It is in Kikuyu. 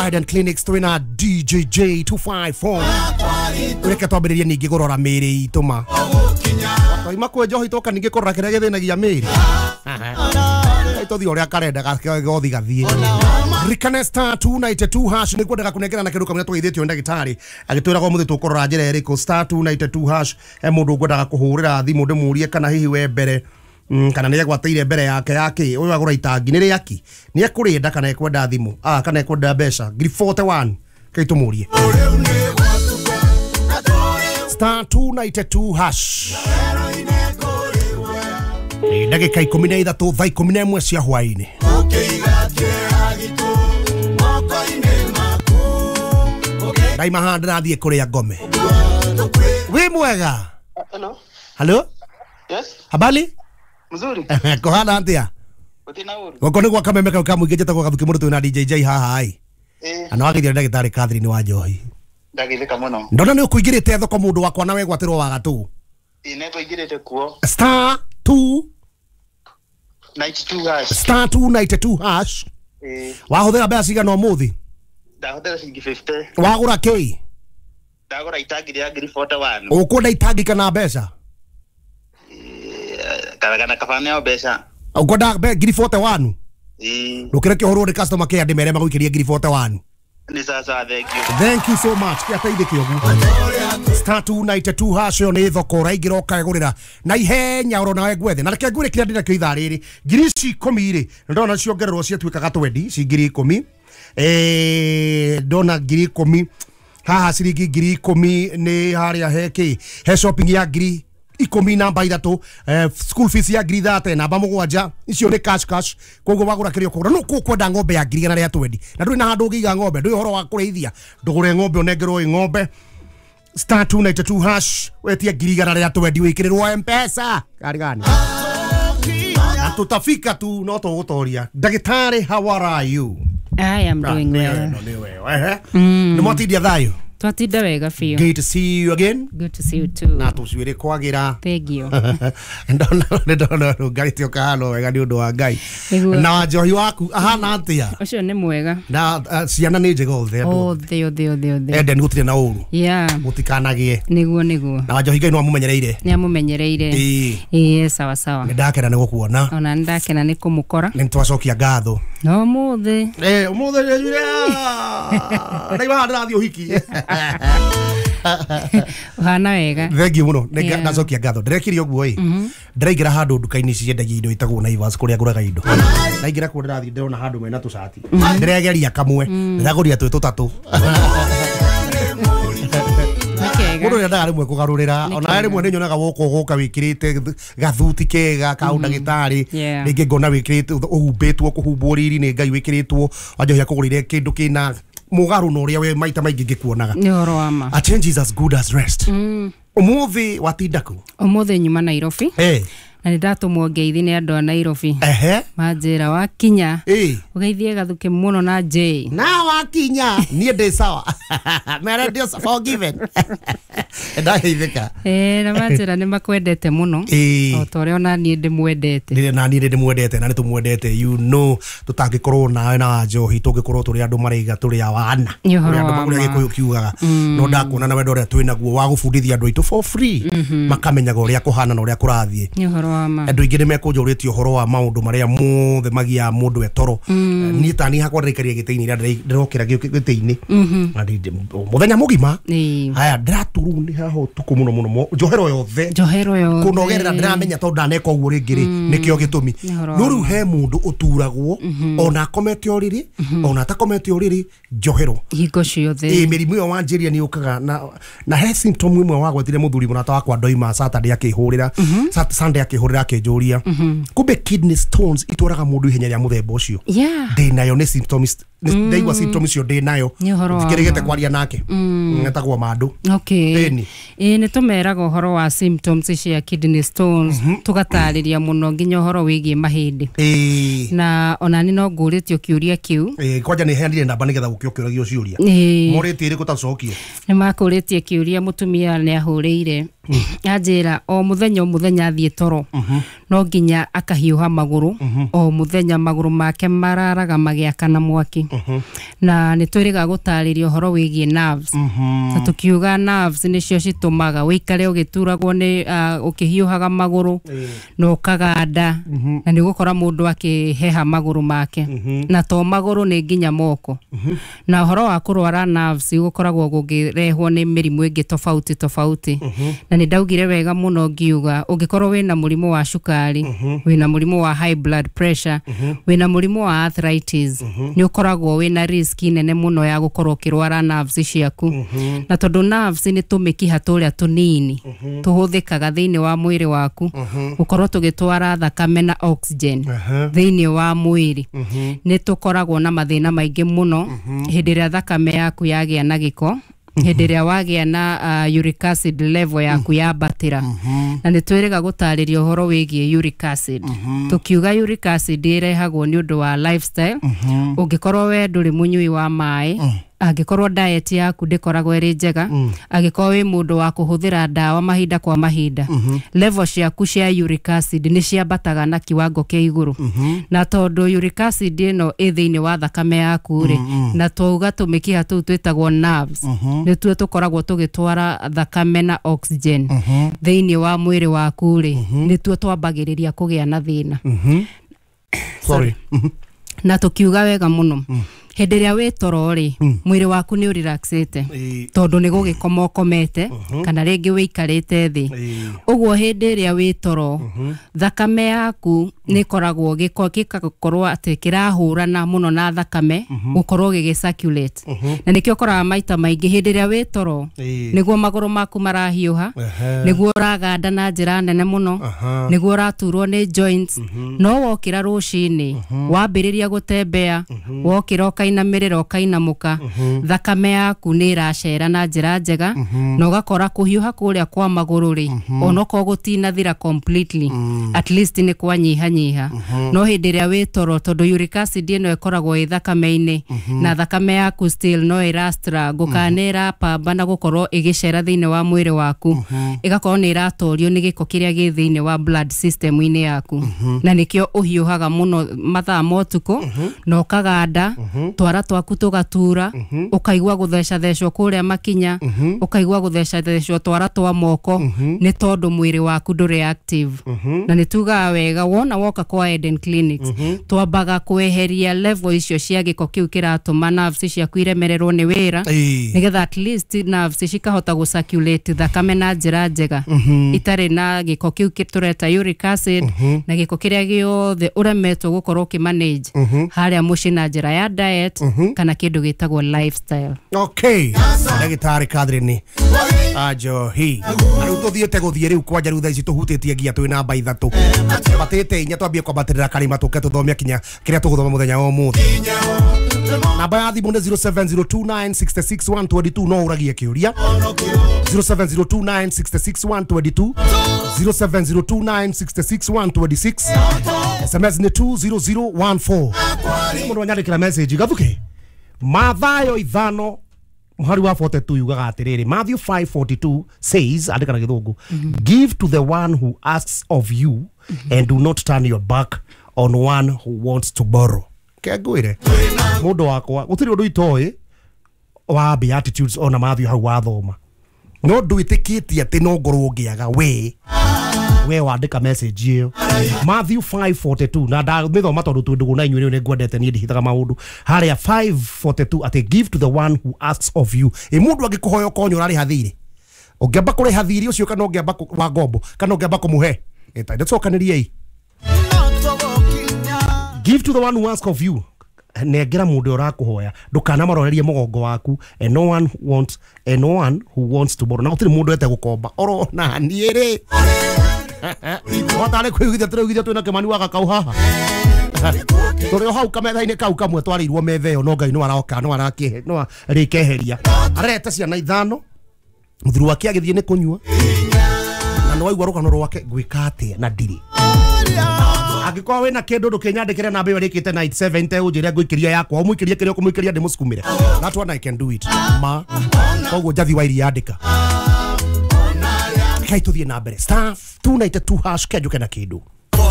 Eden Clinics twina DJJ 254. Reke twambĩrĩrie ningĩ kũrora mĩĩrĩ itũ ma twaima kwĩ njohi twoka ningĩ kũrora kĩrĩa gĩthĩnagia mĩĩrĩ tũthiĩ ũrĩa karenda gothi gathiĩ. Ririkane star 292 hash nĩ kwendaga kũnengera na kĩndũ kamwe tũgeithĩtio nĩ ndagĩtarĩ agĩtwĩraga ũmũthĩ tũkũrora njĩra ĩrĩkũ. Star 292 hash he mũndũ ngwendaga kũhũrĩra thimũ ndĩmũrie kana hihi we mbere kana nĩ egwatĩire mbere yake yake ũyũ agũra itangi nĩ rĩaki nĩ ekũrĩenda kana ekwenda thimũ kana ekwenda mbeca ngiri 41 kei tũmũrie. Star 292 hash. Ndagĩka 13 thaa 11 cia hwaĩ-inĩ. Ndaima haha ndĩrathiĩ kũrĩa ngome. Wĩ mwega? Hello. Hello? Yes. Habari? Mzuri. Kũhana atĩa? Gũtirĩ ũru. Gũkũ nĩ gwa kameme kau ka mũingĩ njĩtagwo Gathuki Mũrũ twĩna DJJ haha ĩ. Eh. Na wageithio nĩ ndagĩtarĩ Catherine wa Njohi. Ndageithĩka mũno. Ndona nĩ ũkũingĩrĩte thoko mũndũ wakwa na wegwatĩrwo wa gatũ. Ĩ nĩ ngũingĩrĩte kuo. Star 2 92 hash. Star 292 hash. Eh. Wahũthĩra mbeca cigana ũmũthĩ? Ndahũthĩra ciringi 50. Wagũra kĩ? Ndagũra itangi rĩa ngiri 41. Ũkwenda itangi kana mbeca? Kana kaba nĩo mbeca. Ũkwenda ngiri 41? Ĩ. Ndũkĩreke ũhũrwo nĩ customer care ndĩmere magũikĩrie ngiri 41. Nĩ sawa sawa, thank you. Thank you so much. Kĩateithĩke ũguo. Star 292 hash ĩyo nĩ thoko ũraingĩra ũkegũrĩra na ihenya oro nawe ngwethe. Na reke ngwĩre kĩrĩa ndĩnakĩo ithaa rĩrĩ. Ngiri ici ikũmi rĩ, ndona ciongererwo ciatuĩkaga twendi, ci ngiri ikũmi. Ndona ngiri ikũmi haha ciringi ngiri ikũmi nĩ harĩa he kĩ he shopping ya ngiri ikũmi namba ithatũ, school fees ya ngiri 30 namba mũgwanja, icio nĩ cash cash. Koguo wagũra kĩrĩa ũkũgũra no kũkwenda ng'ombe ya ngiri igana rĩa twendi na ndũrĩ na handũ ũngĩiga ng'ombe, ndũĩ ũhoro wa kũrĩithia, ndũgũre ng'ombe ũnengerwo ĩ ng'ombe. Star 292 hash wetie ngiri igana rĩa twendi wĩkĩrĩrwo M-Pesa kari gani na tutafika tu no tũgũtoria. Ndagĩtarĩ, how are you? I am doing well. Nĩ mwatindia thayũ? Twatinda wega biũ. Good to see you again. Good to see you too. Na tũcuĩrĩ kwagĩra. Thank you. Ndona ndona rũngarĩte ũkahana wega nĩ ũndũ wa Ngai. Nĩguo. Na wanjohi waku ahana atĩa? Ũcio nĩ mwega. Na ciana nĩ njega othe andũ. Othe othe othe othe. Eden gũtirĩ na ũru. Yeah. Mũtikanagĩe. Nĩguo nĩguo. Na wanjohi Ngai no amũmenyereire. Nĩ amũmenyereire. Ĩĩ. Ĩĩ sawa sawa. Nĩ ndakena nĩ gũkuona. Ona nĩ ndakena nĩ kũmũkora. Nĩ twacokia ngatho. No ũmũthĩ. Ũmũthĩ ndaima haha ndĩrathiĩ ũhiki. Ũhana wega. Thank you mũno. Yeah. Ndacokia ngatho. Ndĩrekire ũguo ĩ. Ndĩraingĩra handũ nduka-inĩ ici ciendagia indo itagwo Naivas kũrĩa ngũraga indo. Ndaingĩra kuo ndĩrathiĩ ndĩrona handũ mena tũcati. Ndĩregeria kamwe. Ndĩragũrire twĩ tũtatũ. Nĩ kega. Mũndũ nĩendaga rĩmwe kũgarũrĩra. Ona rĩmwe nĩnyonaga woka ũgoka wĩkĩrĩte gathuti kega ka ũndagĩtarĩ. Yeah. Rĩngĩ ngona wĩkĩrĩte ũhumbĩtwo kũhumbwo riri nĩ Ngai wĩkĩrĩtwo. Wanjohi akũgũrĩire kĩndũ kĩna mũgarũ na ũrĩa we maita maingĩ ngĩkuonaga. Nĩ ũhoro wa ma. A change is as good as rest. Ũmũthĩ watinda kũ? Ũmũthĩ nyuma Nairobi. Na nĩ ndatũmwo ngeithi nĩ andũ a Nairobi. Ehe. Manjĩra wakinya. Ĩ. Ũgeithie Gathuki mũno na J. Na wakinya niĩ ndĩ sawa. Mere ndio forgiven. Ndageithĩka. Na manjĩra nĩ makwendete mũno. Ĩ. O ta ũrĩa ona niĩ ndĩmwendete. Nĩ na niĩ nĩ ndĩmwendete na nĩ tũmwendete, you know, tũtangĩkorwo nawe na Wanjohi tũngĩkorwo tũrĩ andũ maraiga tũrĩ awana. Nĩ ũhoro Ũrĩa andũ wa ũrĩa ma. Gĩkũyũ kiugaga. No ndakuona na wendo ũrĩa twĩnaguo wa gũbundithia andũ aitũ for free makamenyaga ũrĩa kũhana na ũrĩa kũrathiĩ. Nĩ ũhoro wa ma. Andũ aingĩ nĩ mekũnjũrĩtie ũhoro wa maũndũ marĩa mothe magiaga mũndũ etoro. Niĩ ta niĩ hakwa ndĩraikaria gĩtĩ-inĩ ira ndĩrokĩra gĩtĩ-inĩ. Na mũthenya mũgima. Ĩĩ. Haya ndĩraturwo nĩ haha ũtukũ mũno mũno njohero yothe. Njohero yothe. Kũnogerera ndĩramenya tondũ ndaneka ũguo rĩngĩ rĩ nĩkĩo gĩtũmi. Nĩ ũhoro wa No rĩu ma. he mũndũ ũturagwo ona akomete ũrĩrĩ ona atakomete ũrĩrĩ njohero. Hingo ciothe. Ĩ mĩrimũ ĩyo wanjĩria nĩ yũkaga na he symptom ĩmwe wagwetire mũthuri mũrata wakwa ndoima Saturday akĩhũrĩra Sunday akĩhũrĩra akĩnjũria kumbe kidney stones itwaraga mũndũ ihenya rĩa mũthemba ũcio. Yeah. Ndĩ nayo nĩ symptoms ndaigua symptoms icio ndĩ nayo. Nĩ ũhoro wa Thikĩrĩgĩte ma. kwaria nake. Etagwo Mandũ. Okay. Ĩni. Ĩĩ nĩ tũmeraga ũhoro wa symptoms cia kidney stones tũgatarĩria mũno nginya ũhoro wĩgiĩ mahĩndĩ. Ĩĩ. Na ona niĩ no ngũrĩtio kĩũria kĩu. Ĩĩ kwanja nĩ heanire namba nĩgetha gũkĩ ũkĩũragio ciũria. Ĩĩ. Morĩtie ĩrĩkũ tacokie. Nĩ makũrĩtie kĩũria mũtumia nĩ ahũrĩire Anjĩra o mũthenya o mũthenya athiĩ toro no nginya akahiũha magũrũ, o mũthenya magũrũ make mararaga magĩakana mwaki. Na nĩ twĩrĩga gũtarĩria ũhoro wĩgiĩ nerves, na tũkiuga nerves nĩcio citũmaga wĩikare ũgĩturagwo nĩ ũkĩhiũhaga magũrũ na ũkaganda, na nĩ ũgũkora mũndũ akĩheha magũrũ make, na to magũrũ nĩ nginya moko. Na ũhoro wa kũrwara nerves gũkoragwo gũkĩrehwo nĩ mĩrimũ ĩngĩ tofauti tofauti. Na nĩ ndaugire wega mũno ngiuga ũngĩkorwo wĩna mũrimũ wa cukari, wĩna mũrimũ wa high blood pressure, wĩna mũrimũ wa arthritis, nĩ ũkoragwo wĩna risk nene mũno ya gũkorwo ũkĩrwara nerves ciaku. Na tondũ nerves nĩ tũmĩkiha tũrĩa tũnini tũhũthĩkaga thĩinĩ wa mwĩrĩ waku gũkorwo tũgĩtwara thakame na oxygen thĩinĩ wa mwĩrĩ, nĩ tũkoragwo na mathĩna maingĩ mũno hĩndĩ ĩrĩa thakame yaku yagĩa na gĩko, hĩndĩ ĩrĩa wagĩa na uric acid level yaku yambatĩra. Na nĩ twĩrĩga gũtarĩria ũhoro wĩgiĩ uric acid. Tũkiuga uric acid ĩrehagwo nĩ ũndũ wa lifestyle. Ũngĩkorwo we ndũrĩ mũnyui wa maĩ, angĩkorwo diet yaku ndĩkoragwo ĩrĩ njega, angĩkorwo wĩ mũndũ wa kũhũthĩra ndawa mahinda kwa mahinda, level ciaku cia uric acid nĩ ciambataga na kiwango kĩa igũrũ. Na tondũ uric acid ĩno ĩ thĩinĩ wa thakame yaku rĩ, na twauga tũmĩkiha tũu twĩtagwo nerves nĩtuo tũkoragwo tũgĩtwara thakame na oxygen thĩinĩ wa mwĩrĩ waku rĩ, nĩtuo twambagĩrĩria kũgĩa na thĩna. Sorry. Na tũkiuga wega mũno hĩndĩ ĩrĩa wĩ toro rĩ, mwĩrĩ waku nĩ ũrelaxĩte tondũ nĩ gũgĩkoma ũkomete kana rĩngĩ wĩikarĩte thĩ. Ũguo hĩndĩ ĩrĩa wĩ toro thakame yaku nĩ ĩkoragwo gĩgakorwo atĩ kĩrahũrana mũno na thakame gũkorwo gĩgĩ circulate. Na nĩkĩo ũkoraga maita maingĩ hĩndĩ ĩrĩa wĩ toro nĩguo magũrũ maku marahiũha, nĩguo ũraganda na njĩra nene mũno, nĩguo ũraturwo nĩ joints. No wokĩra rũcinĩ wambĩrĩria gũtembea, wokĩra ũkainamĩrĩra ũkainamũka, thakame yaku nĩ ĩracera na njĩra njega, na ũgakora kũhiũha kũrĩa kwa magũrũ rĩ, onokorwo gũtinathira completely, at least nĩ kwanyihanyiha. No hĩndĩ ĩrĩa wĩ toro, tondũ uric acid ĩno ĩkoragwo ĩ thakame-inĩ, na thakame yaku still no ĩra struggle kana nĩ ĩrapambana gũkorwo ĩgĩcera thĩinĩ wa mwĩrĩ waku, ĩgakorwo nĩ ĩratorio nĩ gĩko kĩrĩa gĩ thĩinĩ wa blood system-inĩ yaku. Na nĩkĩo ũhiũhaga mũno mathaa ma ũtukũ na ũkaganda, twara twaku tũgatura, ũkaigua gũthecathecwo kũrĩa makinya, ũkaigua gũthecathecwo twara twa moko, nĩ tondũ mwĩrĩ waku ndũrĩ active. Na nĩ tugaga wega wona woka kwa Eden Clinics, twambaga kweheria level icio cia gĩko kĩu kĩratũma nerves ciaku iremererwo nĩ wĩra, nĩgetha at least nerves cikahota gũ circulate thakame na njĩra njega itarĩ na gĩko kĩu tũreta uric acid na gĩko kĩrĩa gĩothe ũremetwo gũkorwo ũkĩ manage harĩa mũciĩ na njĩra ya diet kana kĩndũ gĩtagwo lifestyle. Okay, ndagĩtarĩ Catherine Ajohi, rĩu tũthiĩte gũthiĩ rĩu kwanja rĩu thaa ici tũhutĩtie nginya twĩ namba ithatũ batĩte inya, twambie kwambatĩrĩra karĩma tũke tũthome kinya kĩrĩa tũgũthoma mũthenya wa ũmũthĩ. Namba ya thimũ nĩ 0702966122, no ũragie kĩũria 0702966122, 0702966126, SMS nĩ 20014. Mũndũ anyandĩkĩra message gathuke Mathayo 5 mũhari wa 42 yugaga atĩrĩrĩ, Matthew 5:42 says, andĩka na gĩthũngũ, give to the one who asks of you and do not turn your back on one who wants to borrow. Kengwĩre mũndũ wakwa gũtirĩ ũndũ itoĩ wa Beatitudes ona Matthew hau wathoma, no ndwĩtĩkĩtie atĩ no ngorwo ngĩaga we wandĩka message ĩyo Matthew 5:42 na ndamĩthoma tondũ twĩ ndũgũ na inyuĩ nĩ ngwendete niĩ ndihithaga maũndũ harĩa 5:42 atĩ give to the one who asks of you. Ĩ mũndũ angĩkũhoya ũkonyo ũrarĩha thirĩ, ũngĩamba kũrĩha thirĩ ũcio kana ũngĩamba wa ngombo kana ũngĩamba kũmũhe ĩtandacokanĩriei. Give to the one who asks of you, nengera mũndũ ũrakũhoya, ndũkanamarorerie mũgongo waku, and no one wants, and no one who wants to borrow. Na gũtirĩ mũndũ ete gũkomba oro na niĩ rĩ watarĩ kwĩiguithia tũreiguithia twĩna Kĩmani wa Gakau haha tũrĩ o hau kametha-inĩ kau kamwe twarĩirwo metha ĩyo, no Ngai no aroka no arakĩhe no arĩkeheria. Arete ciana ithano, mũthuri wake agĩthiĩ nĩ kũnyua na nĩ waigua rũgano rwake, ngwĩka atĩa na ndirĩ. Angĩkorwo wĩna kĩndũ ndũkĩnyandĩkĩre namba ĩyo ĩrĩkĩte 97 ũnjĩre ngũikĩria yakwa, ũmũikĩrie kĩrĩa ũkũmũikĩria ndĩmũsukumĩre. That one I can do it ma koguo Njathi wa Iria andĩka. Rekei tũthiĩ na mbere, star 292 hash, kĩanjũke na kĩndũ.